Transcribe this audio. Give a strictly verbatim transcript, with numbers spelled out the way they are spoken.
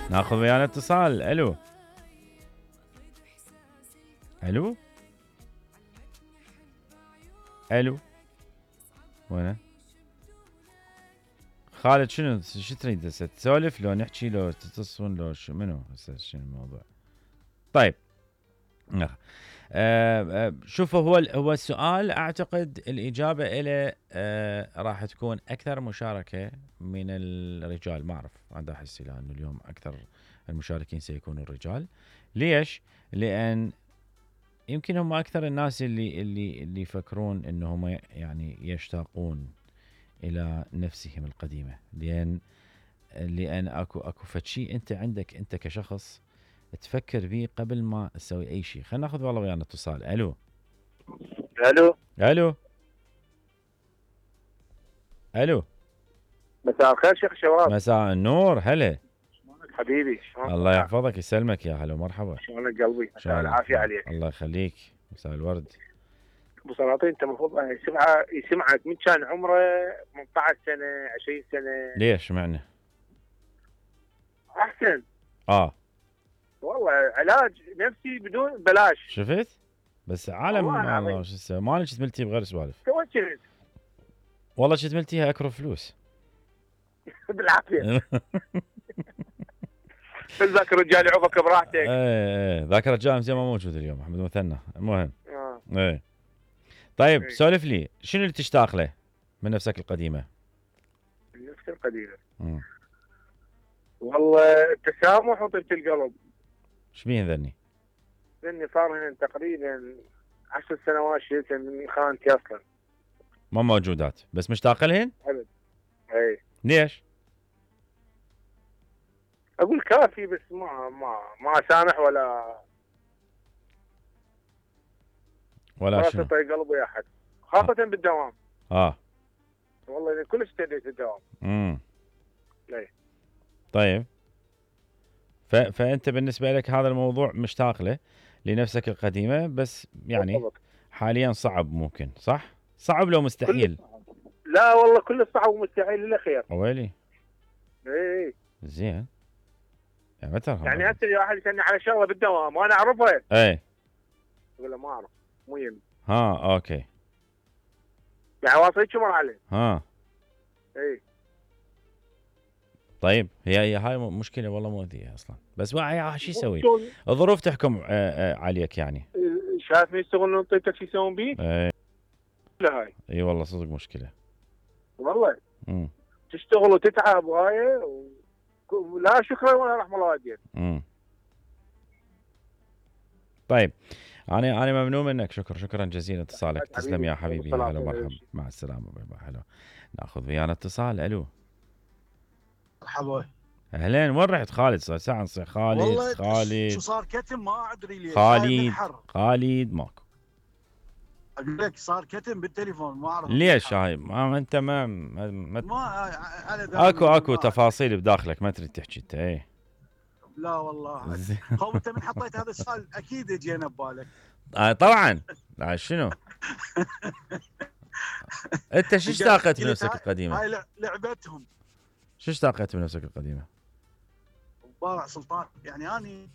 ناخذ ويانا اتصال. الو الو الو وين خالد؟ شنو شو تريد هسه تسولف لو نحكي لو تتصلون لو شو منو هسه شنو الموضوع؟ طيب آه آه شوفوا هو هو السؤال اعتقد الاجابه له آه راح تكون اكثر مشاركه من الرجال. ما اعرف هذا احس لانه اليوم اكثر المشاركين سيكونوا الرجال. ليش؟ لان يمكن هم اكثر الناس اللي اللي اللي يفكرون انهم يعني يشتاقون الى نفسهم القديمه. لان لان اكو اكو فشي انت عندك انت كشخص تفكر به قبل ما تسوي اي شيء. خلينا ناخذ والله ويانا اتصال. الو الو الو الو مساء الخير شيخ شباب. مساء النور. هلا حبيبي الله يحفظك يسلمك يا هلا ومرحبا. شلونك قلبي؟ مساء العافيه عليك. الله يخليك. مساء الورد. ابو سلاطين انت المفروض يسمع يسمعك من كان عمره ثمانية عشر سنه عشرين سنه. ليش معنى؟ احسن. اه والله علاج نفسي بدون بلاش. شفت؟ بس عالم والله شو اسوي؟ ما كنت ملتي بغير سوالف. توكلت والله كنت ملتيها اكره فلوس. بالعافيه. ذاك الرجال يعوفك براحتك. ايه ايه ذاك الرجال زين ما موجود اليوم احمد مثنى. المهم اه ايه طيب سولف لي شنو اللي تشتاق له من نفسك القديمه؟ من نفسك القديمه امم والله التسامح وطيبه القلب. ايش بيهن ذني؟ لاني صار هنا تقريبا عشر سنوات شلت من خانتي اصلا. ما موجودات بس مشتاق لهن؟ ابد. اي ليش؟ اقول كافي بس ما ما ما اسامح ولا ولا ولا شنو؟ تطيق قلبي احد خاصة آه. بالدوام. اه والله كلش ابتديت الدوام. امم ليه؟ طيب ف... فانت بالنسبه لك هذا الموضوع مشتاق له لنفسك القديمه بس يعني بالضبط. حاليا صعب ممكن صح؟ صعب لو مستحيل؟ لا والله كل صعب ومستحيل الا خير. ويلي اي زين يعني متى يعني هسه واحد يسالني على شغله بالدوام وانا اعرفها اي اقول له ما اعرف مو يمي. ها اوكي يعني واصل شو مرحله. ها اي طيب هي هي هاي مشكله والله مؤذيه اصلا بس شو يسوي؟ الظروف تحكم عليك يعني. شايف يشتغلون طيبتك شو يسوون بيه؟ اي لا هاي اي والله صدق مشكله والله. امم تشتغل وتتعب وهاي و... لا شكرا ولا رحم الله والديك. امم طيب انا انا ممنون منك. شكرا شكرا جزيلا اتصالك. تسلم يا حبيبي. هلا مرحبا مع السلامه. باي باي. هلا ناخذ ويانا اتصال. الو مرحبا. اهلين. وين رحت خالد؟ صار ساعه نصير خالد والله خالد شو صار كتم ما ادري ليش. خالد خالد ماكو. اقول لك صار كتم بالتليفون ما اعرف ليش هاي ما انت ما ما, ما, ما على اكو اكو تفاصيل بداخلك ما تريد تحكي انت. ايه لا والله هو انت من حطيت هذا السؤال اكيد اجينا ببالك. آه طبعا. لا شنو انت شو اشتاقت بنفسك القديمه؟ هاي لعبتهم. شو اشتاقت بنفسك القديمه؟ بارع سلطان يعني اني